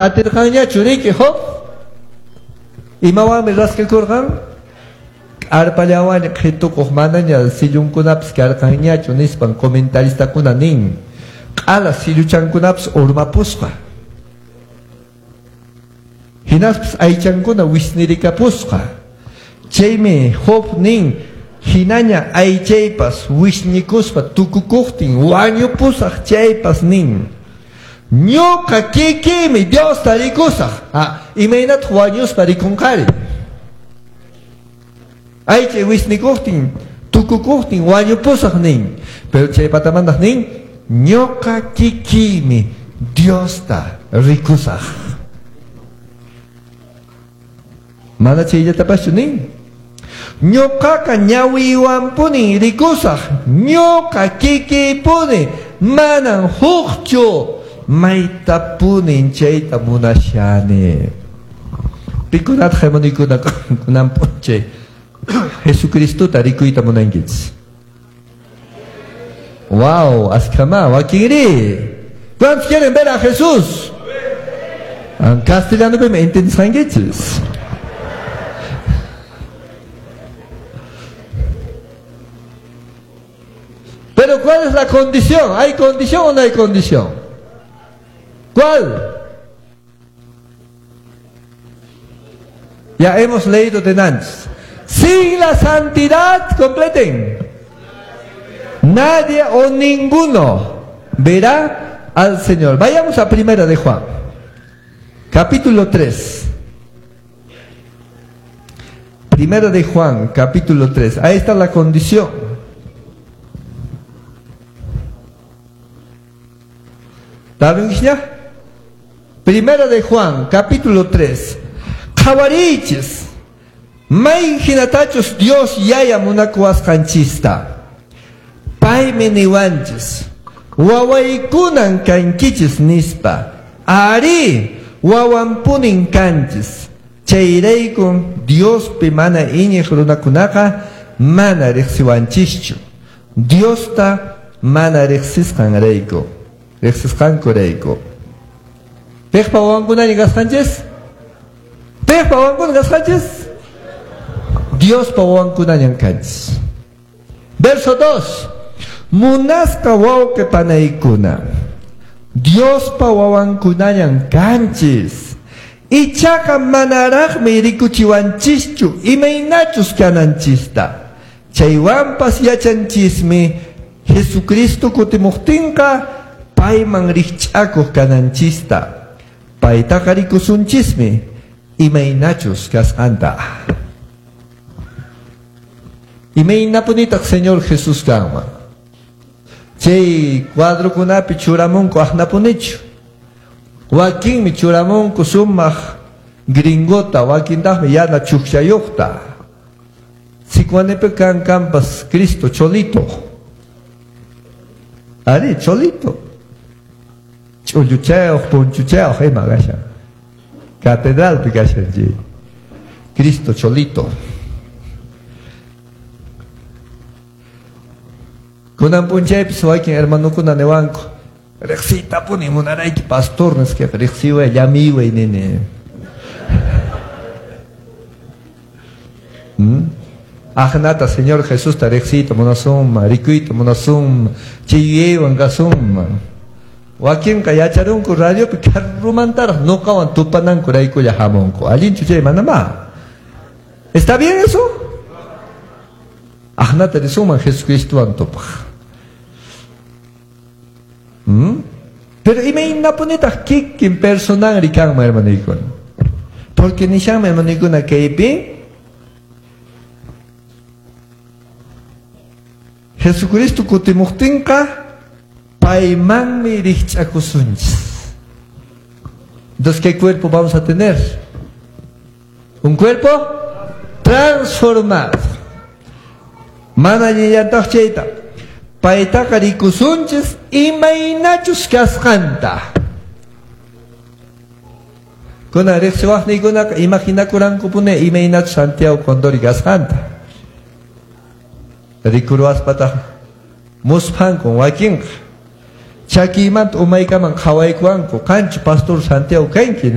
Atirqanñachu riki Job? Imawanmi raskakurqan? K'arpallawanña qhitukuq manaña sillunkunapas karqanñachu nispan comentaristakuna nin. Q'ala silluchankunapas urmapusqa. Hinaspas aychankuna wisnirikapusqa. Chaymi Job nin, hinaña aychaypas wisñikuspa tukukuqtin wañupusaq chaypas nin. Ñuqa kikiymi Diosta rikusaq. Imaynataq wañuspa rikunqari? Aychay wisnikuqtin, tukukuqtin wañupusaq nin. Pero chay patamantaq nin, ñuqa kikiymi Diosta rikusaq. Mana chayllatapachu nin. Ñuqaqa ñawiywanpunin rikusaq. Ñuqa kikiypuni manan hukchu. Maytapunin chayta munashani. Pikunataq hermanuykuna kunan p'unchay Jesucristota rikuyta munankichis. Wow, askhama, wakinri. ¿Cuántos quieren ver a Jesús? Castellano me entendisqankichis. Pero ¿cuál es la condición? ¿Hay condición o no hay condición? ¿Cuál? Ya hemos leído de antes. Sin la santidad, completen. Nadie o ninguno verá al Señor. Vayamos a Primera de Juan, capítulo 3. Primera de Juan, capítulo 3. Ahí está la condición. ¿Está bien, ya? Primera de Juan, capítulo 3. Qhawarichis, may hinatachus Dios yaya munakuwasqanchista. Paymi niwanchis, wawaykunan kankichis nispa. Ari, wawanpunin kanchis. Chayraykun Diospi mana iñiq runakunaqa mana riqsiwanchischu. Diosta mana riqsisqanrayku. Riqsisqankurayku. Piqpa wawankunaña kasqanchis? Piqpa wawankuna kasqanchis? Diospa wawankunañan kanchis. Verso 2. Munasqa wawqi panaykuna, Diospa wawankunañan kanchis. Ichaqa manaraqmi rikuchiwanchischu imaynachus kananchista. Chaywanpas yachanchismi Jesucristo kutimuqtinqa payman rikch'akuq kananchista. Paytaqa rikusunchismi imaynachus kasqanta. Imaynapunitaq Señor Jesús kanman? Chay cuadrokunapi churamunku aqnapunichu. Wakinmi churamunku sumaq gringota, wakintaqmi yana chukchayuqta. Sicuanipi kan kampas Cristo cholito. Ari, cholito. Ch'ulluchayuq, punchuchayuq ima kashan. Catedralpi kashan chay. Cristo cholito. Kunan p'unchaypis wakin hermanukuna niwanku, riqsiytapuni munarayki pastor nisqaqa, riqsiway, llamiway nini. Aqnata Señor Jesusta riqsiyta munasunman, rikuyta munasunman, chay yuyaywan kasunman. Wakinqa yacharunku radiopi karrumantaraq nuqawan tupanankuraykulla hamunku. Allinchu chay manamá. ¿Está bien eso? Aqnata risunman Jesucristowan tupaq. Pero imaynapunitaq kikin personanri kanman, hermanuykuna? Porque nishanmi, hermanuykuna, kaypi Jesucristo kutimuqtinqa paymanmi rikch'akusunchis. Entonces, ¿qué cuerpo vamos a tener? Un cuerpo transformado. Mana allillantaq chayta. Paytaqa rikusunchis imaynachus kasqanta. Kuna riqsiwaqniykunaqa imaginakuranku imaynachus Santiago Condori kasqanta. Rikuruwaspataq musphankun wakinqa. Chakiymanta umaykaman qhawaykuwanku. Qanchu pastor Santiago kanki?